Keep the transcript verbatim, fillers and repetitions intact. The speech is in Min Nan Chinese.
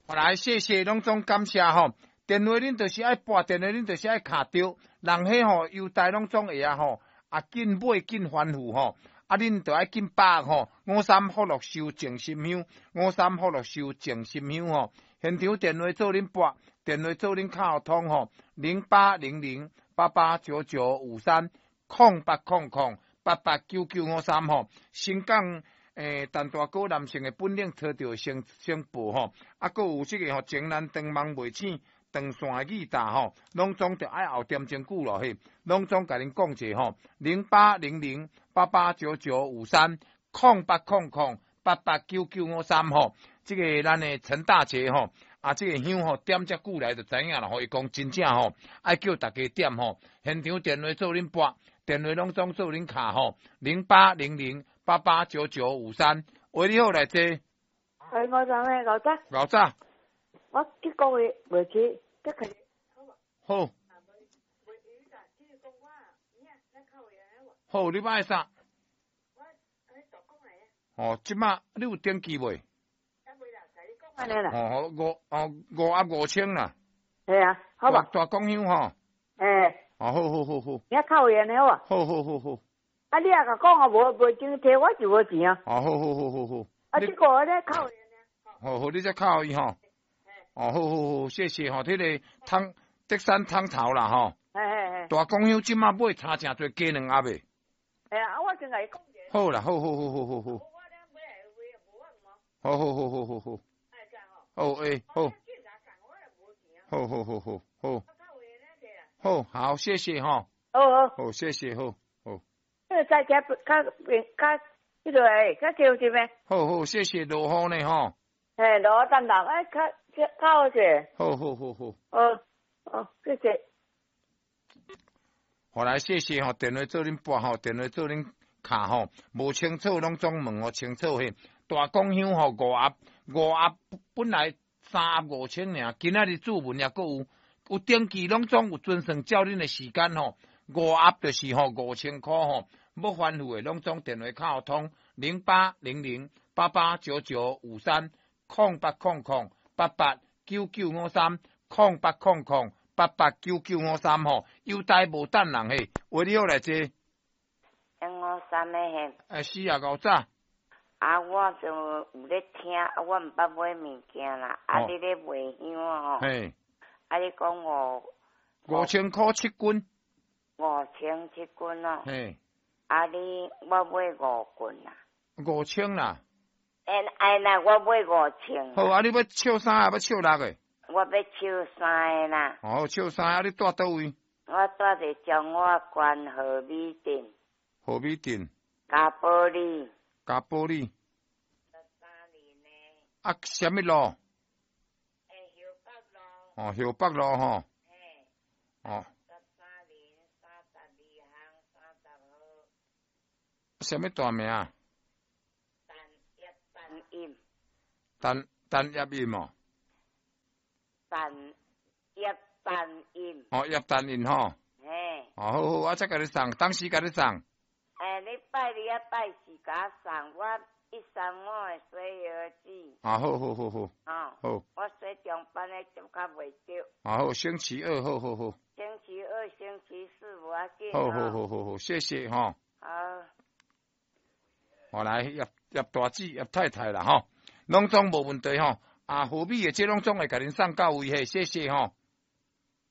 好來，謝謝攏總感謝吼。電話恁就是愛撥，電話恁就是愛敲著，人彼吼郵袋攏總會啊吼，啊緊買緊翻覆吼，啊恁就愛緊把握吼。五三福祿壽靜心香，五三福祿壽靜心香吼，現場電話做恁撥，電話做恁敲通吼，零八零零八八九九五三，空八空空八八九九五三吼，新港。欸，陳大哥男性的本領揣著先先報吼，啊，閣有這個吼，情難斷網袂醒，斷線的語答吼，攏總著愛後點鐘久咯嘿，攏總共恁講者吼，零八零零八八九九五三，空八空空八八九九五三吼，這個咱的陳大姐吼，啊，這個香吼點遮久來就知影啦吼，伊講真正吼，愛叫大家點吼，現場電話做恁撥，電話攏總做恁敲吼，零八零零。八八九九五三，喂，你好，來坐。哎，我怎咩？老早。老早。我這個月袂去，這個。好。好，你欲啥？哦，這馬你有登記未？哦，五哦五盒五千啦。係啊，好吧。大公香吼。欸。哦，好好好好。你較有緣的好無？好好好好。啊！你也共講啊，無無錢提，我就無錢啊。哦，好好好好好。啊，這個咧靠伊。好好，你再靠伊吼。哦，好好好，謝謝吼。這個湯德山湯頭啦吼。嘿嘿嘿。大公香這馬買差誠濟，加兩盒的。嘿啊，我先共伊講者。好啦，好好好好好好。好好好好好好。好欸，好。好好好好好。好，好，謝謝吼。好好。好，謝謝，好。這個較較較彼個欸，較少一咩？好好，謝謝落雨呢吼。嘿，落雨等落，哎，較較好勢。好好好好。好，好，謝謝。好來，謝謝吼，電話做恁撥吼，電話做恁敲吼，無清楚攏總問予清楚嘿。大公香吼五盒，五盒本來三盒五千爾，今仔日注文也閣有，有登記攏總有準算照恁的時間吼，五盒就是吼五千箍吼。欲翻覆的，攏總電話敲通零八零零八八九九五三，空八空空八八九九五三，空八空空八八九九五三吼，郵袋無等人嘿，喂，你好，來坐。一五三的嘿。哎，是啊，𠢕早。啊，我就有咧聽，啊，我毋捌買物件啦。啊，你咧賣香吼？嘿。啊，你講五。五千箍七斤。五千七斤咯。嘿。啊！你我買五斤啦。五千啦。哎哎，那我買五千。好啊！你欲笑三个，欲笑六个？我欲笑三个啦。哦，笑三个，啊！你住佗位？我住佇彰化縣和美鎮。和美鎮。嘉寶里。嘉寶里。啊，啥物路？欸，后北路。哦，后北路吼。嘿。哦。十三林三十二巷三十號。啥物大名？陳葉陳音。陳陳葉音哦。陳葉陳音。哦，葉陳音吼。嘿。哦，好好，我再共你送，當時共你送。欸，你拜二啊拜四共我送，我一三五會洗藥水。啊，好好好好。哦。好。我洗中班的就較袂著。啊好，星期二，好好好。星期二、星期四無要緊。好好好好好，謝謝吼。好。好來，葉葉大姊、葉太太啦吼，攏總無問題吼。啊，和美的這攏總會共恁送到位嘿，謝謝吼。